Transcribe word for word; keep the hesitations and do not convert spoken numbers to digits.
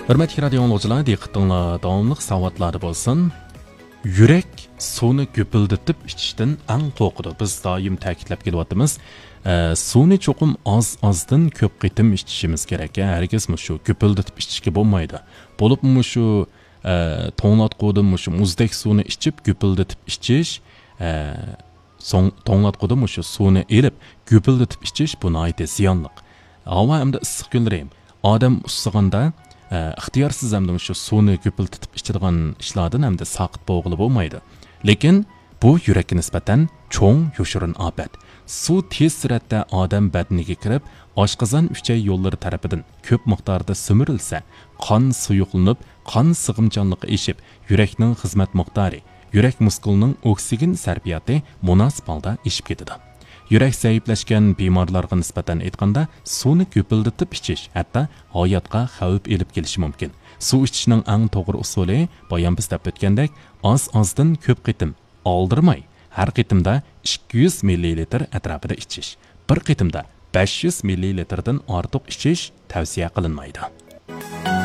ھۆرمەتلىك رادىئو ئاڭلىغۇچىلار، دىققىتىڭلار داۋاملىق ساۋاتلاردا بولسۇن. يۈرەك سۇنى گۈپۈلدىتىپ ئىچىشتىن ئەڭ قورقىدۇ. بىز دائىم تەكىتلەپ كېلىۋاتىمىز. ئە، سۇنى چوقۇم ئاز-ئازدىن كۆپ قېتىم ئىچىشىمىز كېرەك. ھەرگىز مۇشۇ گۈپۈلدىتىپ ئىچىشكە بولمايدۇ. بولۇپمۇ مۇشۇ، ئە، توڭلاتقۇدىن مۇشۇ مۇزدەك سۇنى ئىچىپ، گۈپۈلدىتىپ ئىچىش، ئە، سوڭ، توڭلاتقۇدىن مۇشۇ سۇنى ئېلىپ، گۈپۈلدىتىپ ئىچىش بۇ ناھايىتى زىيانلىق. ھاۋا ھەمدە ئىسسىق كۈنلىرى ئادەم ئۇسسىغاندا، ئە، ئىختىيارسىز ھەمدە مۇشۇ سۇنى گۈپۈلدىتىپ ئىچىدىغان ئىشلاردىن ھەمدە ساقىت بولغىلى بولمايدۇ. لېكىن بۇ يۈرەككە نىسبەتەن چوڭ يوشۇرۇن ئاپەت. سۇ تېز سۈرئەتتە ئادەم بەدىنىگە كىرىپ، ئاشقازان ئۈچەي يوللىرى تەرىپىدىن كۆپ مىقداردا سۈمۈرۈلسە، قان سۇيۇقلىنىپ، قان سىغىمچانلىقى ئېشىپ، يۈرەكنىڭ خىزمەت مىقدارى، يۈرەك مۇسكۇلىنىڭ ئوكسىگېن سەرپىياتى مۇناسىپ ھالدا ئېشىپ كېتىدۇ. يۈرەك زەئىپلەشكەن بىمارلارغا نىسبەتەن ئېيتقاندا، سۇنى گۈپۈلدىتىپ ئىچىش ھەتتا ھاياتقا خەۋپ ئېلىپ كېلىشى مۇمكىن. سۇ ئىچىشنىڭ ئەڭ توغرا ئۇسۇلى، بايام بىز دەپ ئۆتكەندەك، ئاز-ئازدىن كۆپ قېتىم ئالدىرىماي، ھەر قېتىمدا ئىككى يۈز مىللىلىتىر ئەتراپىدا ئىچىش. بىر قېتىمدا بەش يۈز مىللىلىتىردىن ئارتۇق ئىچىش تەۋسىيە قىلىنمايدۇ.